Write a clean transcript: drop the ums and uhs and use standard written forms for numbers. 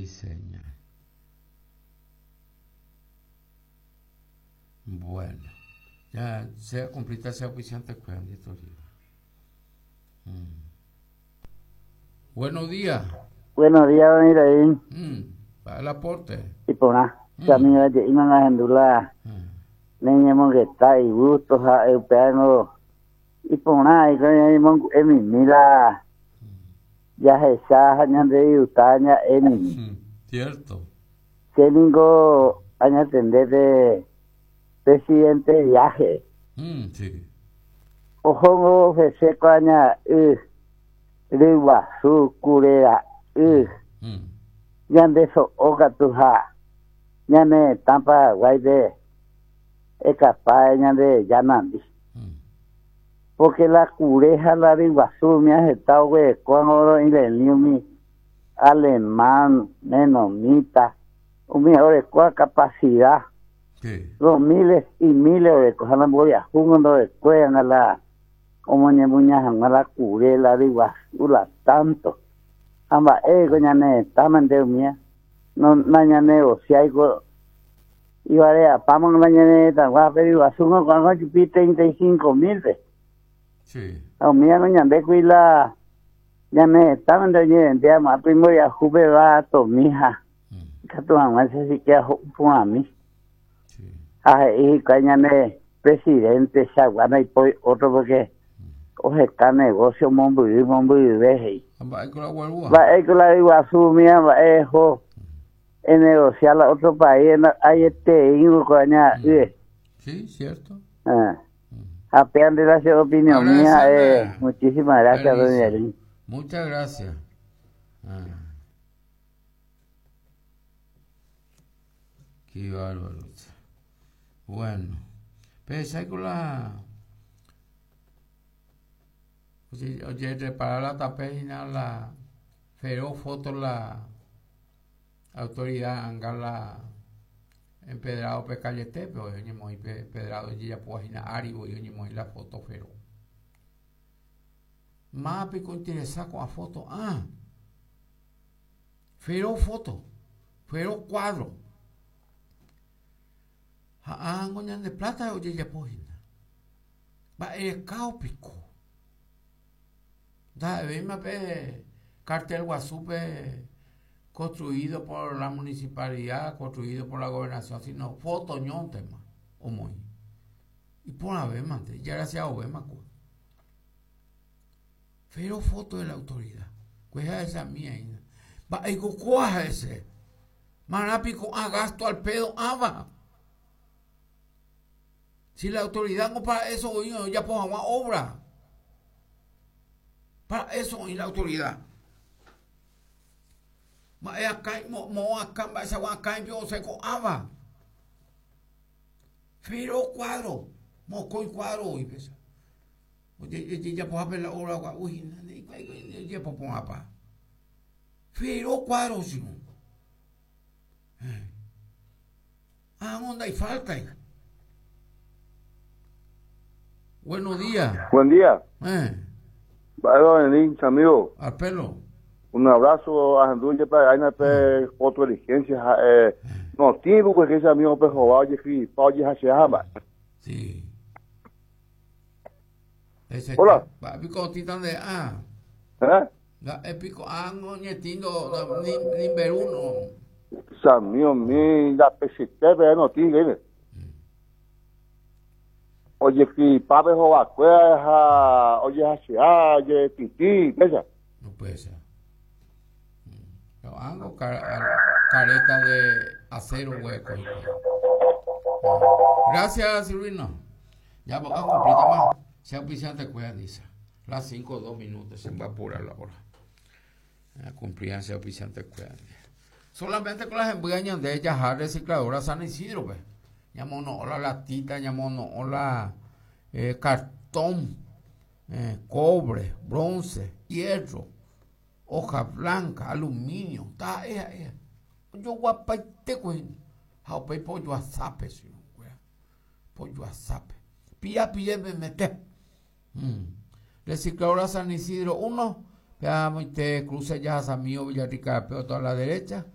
Diseña. Bueno, ya se cumplita ese auspiciante mm. Buenos días. Buenos días, don Iraín. Para el aporte. Iporã. Che amigo aje'íma ahendu la ne ñemongeta igusto ha'e upévango iporã aiko ñañemongu'e mimi la jahecha ha ñandedisgusta ña'e mimi. Cierto. Che ningo añatende pe presidente viaje. Sí. Ohóngo ofrece ko aña y ryguasu, kure ra'y, ñande so'o katu ha ñane retã Paraguáipe ekapa ñande reja nandi. Porque la kure ha la ryguasu umía heta oguerekóvango ro'iremi umi alemán, menonita, umi orekóva capacidad, dos miles y miles oreko ha la mboriahúngo ndorekóianga la omoñemuña hag̃ua la kure, la ryguasu, la tanto. Ha mba'éiko ñane retãmente umía no nañanegosiáiko ivare'apáma la ñane retãgua pe ryguasúngo ko'ág̃a ojupi 35 mil-pe. Ha umíango ñandékuri la ñane retãmente oñevende amo'ã pe imboriahúpe vatomi ha ikatu hag̃uáicha siquiera ho'u porãmi. Ha he'i hikuái ñane presidente chagua ndaipóri otro porque oheka negocio mombyry mombyryve he'i. Ha mba'éiko la oguerúva? Mba'éiko la ryguasu umíva mba'e eho enegocia la otro país ayeteíngo ko aña'ỹre. Sí, cierto. Ah. Ha péa nde la che opinión mía, muchísimas gracias, doña Elin. Muchas gracias. Ah. Qué bárbaro. Bueno, pensáis con la. Oye, reparar la tape y nada, la feroz foto la autoridad anga la empedrado pe calletépe oñemoĩ pe empedrado ojejapóva hína ári voi oñemoĩ la foto feroz. Máva piko ointeresa ko'ã foto? Ah, feroz foto, feroz cuadro. Ha ángo ñande plata ojejapo hína. Mba'erekáo piko. Ndaha'evéima pe cartel guasúpe construido por la municipalidad, construido por la gobernación, sino foto ñóntema omoĩ. Iporãvémante, ijarasiaovéma kua. Pero foto de la autoridad. Kuehe ahechami aína. Mba'éiko kóa ha'ese. Marã piko ã gasto al pedo ãva. Si la autoridad no para eso oĩ ojapo hag̃ua obra. Para eso oĩ la autoridad. Mba'e akã, moõ akã, mba'eichagua akãipi osẽ ko'ãva. Fero cuadro, mokõi cuadro oĩ péicha. Ojejapohápe la obra gua'u hína, ojejapo porãpa. Fero cuadro chirũ. Ág̃o ndaifáltai. Buenos días. Buen día. Mba'épa venís, amigo? Al pelo. Un abrazo ahendu jepe aina pe foto diligencia ha'e no tiempo pues que ese amigo pe hova ojecripa ojehachea mba'e. Sí. Ese Hola. Mba'e piko otĩta nde ã. ¿Eh? Mba'e piko ángo ñetĩndo ni ni mberu no. Samío mi ndapechete pe notĩ gẽme. Ojecripa pe hovakuéra ha ojehachea ojetĩtĩ péicha. Upéicha. Ángo careta de acero hueco. Gracias, Silvino. Ya voy a cumplir más. Se auspiciante cuida, dice. Las 5 2 minutos se va a apurar la hora. Cumplían se auspiciante cuida. Solamente con las embudas de ellas recicladora San Isidro, pues. Llamó no la latita, llamó no la cartón, cobre, bronce, hierro, hoja blanca, aluminio, ta ea ea. Ojoguapaite ko ha upéi pojoasápe che irũnguéra. Pojoasápe. Pia pie memete. Recicladora San Isidro 1, pe amoite cruce Yajasamío Villarrica pe otro a la derecha.